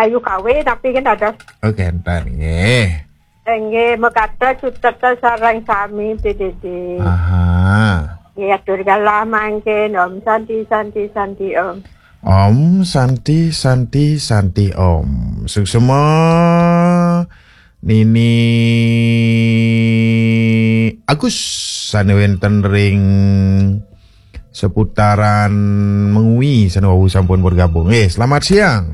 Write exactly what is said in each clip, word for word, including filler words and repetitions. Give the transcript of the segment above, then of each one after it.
Ayu Kawe tapi kan ada. Oh, kenten nggih. Nggih, mekaten suksma sareng sami, Dédé. Aha. Nggih, atur galah mangkin. Om Santi, Santi, Santi, Om. Om Santi, Santi, Santi, Om. Suksma Nini Agus sane wenten ring seputaran Mengwi sane wau sampun bergabung. Eh, selamat siang.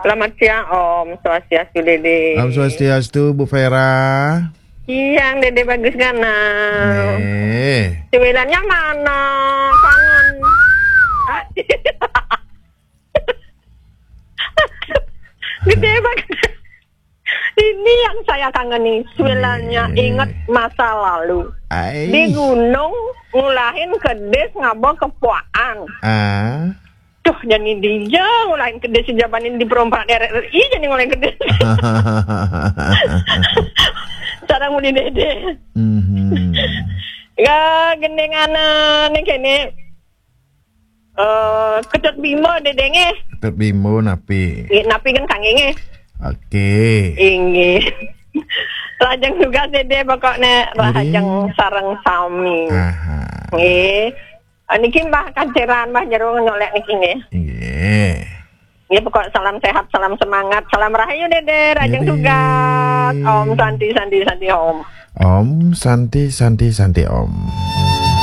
Selamat siang, Om Swastiastu, Dédé. Om Swastiastu, Bu Vera. Siang, Dédé Bagus Ganal. Eh. Cuwilannya mana? Kangen. Gede banget. Ini yang saya kangeni. Cuwilannya inget masa lalu. Ai. Di gunung ngulahin kedis ngaba kepuaan. Ah. Duh, jadi dia ngulahin kedis jabanin di perompak R R I jadi ngulahin kedis. Cara muni Dédé. Mhm. Ya, gendingan, eh, nih kene, eh, Ketut Bima, Dédé nggih. Ketut Bima napi? Nggih, napi kan kangge nggih? Oke. Inggih. Lajeng tugas Dédé pokoknya rahajeng sareng sami. Aha. Nggih. Ah, niki Mbah Kanciran, Mbah Jero nyolek niki nggih. Nggih. Nggih, pokok salam sehat, salam semangat, salam rahayu Dédé, rahajeng tugas. Om Santi, Santi, Santi, Om. Om Santi, Santi, Santi, Om.